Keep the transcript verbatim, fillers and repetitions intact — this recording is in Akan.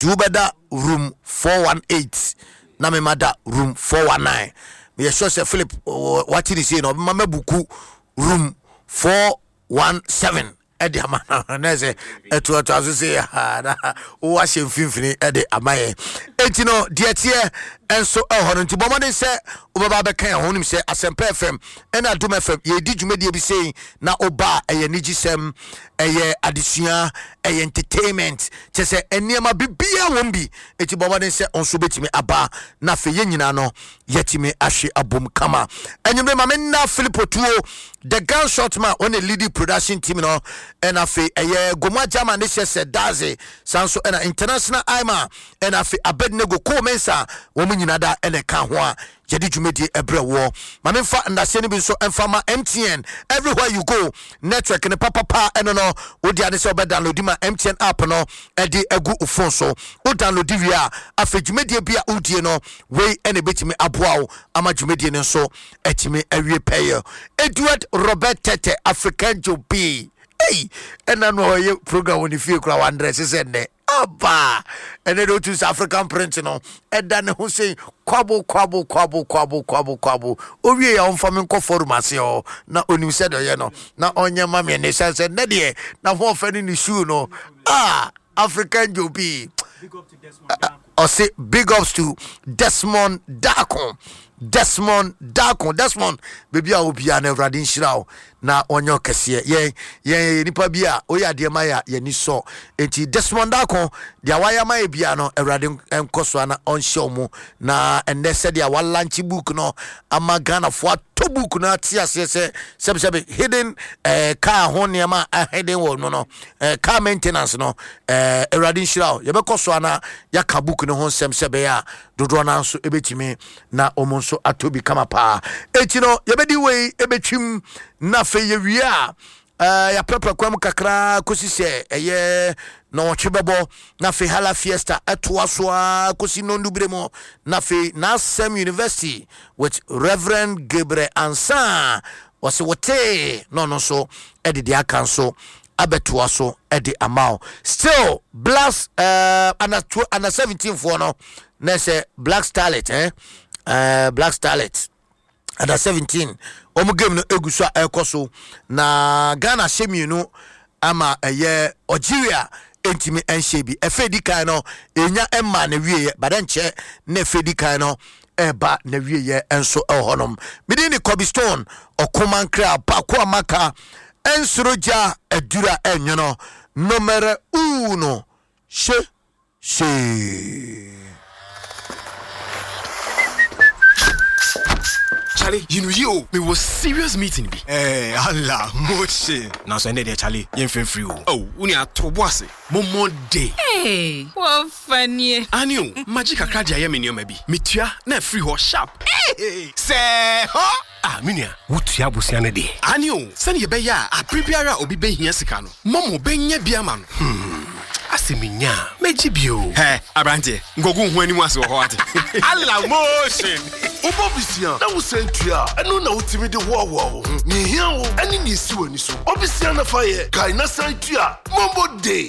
Nti wobɛda room four one eight na mema da room four one nine. Meyɛ sure sɛ Philip wate ne sei na ɔbɛma mabook room four one seven ɛde ama no, na sɛ ɛtoatoa so sɛ na wowɔ ahyɛ mfimfini ɛde ama yɛn. Enti no deɛ teɛ ɛnso ɛwɔ hɔ no, nti bɔ mmɔden sɛ wobɛba bɛka yɛn ho. Wonim sɛ Asɛmpa F M ɛna Adom F M yɛdi dwumadie bi sei na woba a, ɛyɛ anigyesɛm, ɛyɛ adesua, ɛyɛ entertainment, kyɛ sɛ nneɛma biribiaa wɔm bi. Enti bɔ mmɔden sɛ ɔnso wobɛtumi aba na afei yɛn nyinaa no yɛtumi ahwe abom kama. Anwummerɛ ma menna Philip Otuo, the gunshot man, ɔne leading production team no, ɛna afei ɛyɛ Goma Jama ne hyɛ sɛ daze saa nso, ɛna International Ima, ɛna afei Abednego Ko Mensa, wɔn nyinaa da ɛna ɛka ho a yɛde dwumadie ɛbrɛ woɔ. Ma memfa ndaseɛ no bi nso ɛmfa ma M T N. Everywhere you go, network ne papapa. Ɛno no wode ade sɛ wobɛ download ma M T N app no ɛde agu wo phone so. Wo download wie a, afei dwumadie bi a wodie no wei ɛna ɛbɛtumi aboa wo ama dwumadie no nso atumi awie pɛyɛ. Edward Robert Tete, African Joe B, ei, ɛna no ɔyɛ program wɔ ne fie kora wandrɛse sɛ nnɛ aba. Ɛnɛ de wotu sɛ African print no ɛda ne ho sei, kwabo kwabo kwabo kwabo kwabo kwabo. Owie a, ɔmfa me nkɔ forum ase hɔ na onim sɛ deɛ ɔyɛ no na ɔnyɛ ma me. Ɛnɛ sɛ sɛ nnɛ deɛ na ho ɔfɛ ne ne shoe no ah, African Joe B ɔse big ups to Desmond Dako, Desmond Dako. Desmond, baabi a obiara no, Awurade nhyira wo na ɔnyɛ ɔkɛseɛ. Yɛn yɛn yɛ nipa bi a oyɛ adeɛ ma yɛ a yɛni sɔ. Enti Desmond Dako, deɛ wayɛ ama yɛ bia no, Awurade nkɔ so ana ɔnhyɛ wo mu. Na ɛnnɛ sɛdeɛ walaunch book no ama Ghanafoɔ atɔ book no ate aseɛ sɛ sɛbisɛbi hidden eh, car ho nneɛma a hidden wɔ no no eh, car maintenance no, eh, Awurade nhyira wo. Yɛbɛkɔ so ana yɛaka book no ho nsɛm sɛ ɛbɛyɛ a dodoɔ no nso ɛbɛtumi na wɔn nso atɔ bi kama paa. Eti no yɛbɛdi wei ɛbɛtwim na afei yɛwie a, uh, yɛaprapra kwan mu kakra kɔsi sɛ ɛyɛ nɔwɔtwe bɛbɔ, na afei Hala Fiesta ɛtoa so a kɔsi nɔndubere mu, na afei N'asɛm University with Reverend Gabriel Ansa wɔsɛ wɔtee na ɔno nso ɛde deɛ aka nso abɛtoa so ɛde ama wo. Still blacks uh, under, under seventeen foɔ no na sɛ Black Starlet, eh? uh, Black Starlet under seventeen wɔn game no egu so a ɛrekɔ so, na Ghana hyɛ mmienu ama ɛyɛ Algeria ntumi nhyɛ bi. Ɛfɛ di kan no enya mma na wieɛ bada nkyɛ na ɛfɛ di kan no ɛreba na wieɛ nso ɛwɔ hɔnom. Mede ne Kobe Stone ɔkomankra baako a maka ɛnsoro gya adura ɛnwono numero uno hyɛ hyee. Charlie, you know you, me was serious meeting bi. Eh, Allah, motion. Nanso ɛnɛ deɛ, Charlie, yɛmfrɛ mfiri o. Oh, wo nua to bo ase. Momo day. Hey, wɔfa nie. Ani o, magye kakra de ayɛ me nneɛma bi. Metua na afiri hɔ sharp. Hey, sɛ hɔ. Ah, me nua, wotua abosea no deɛ. Ani o, sɛne yɛbɛyɛ a abere biara a obi bɛhia sika no, Momo bɛnya bi ama no. Hmm, asɛ menya a, mɛgye bio. Hɛ, aberanteɛ, nkɔgu ho anim ase wɔ hɔ ate. Allah, motion. Wobɔ bisia na wosan tua a, ɛno na wotumi de hoahoa wo ho. Nea ehia wo ɛne nea esi w'ani so. Ɔbisia na fa yɛ kae na san tua. Momo day.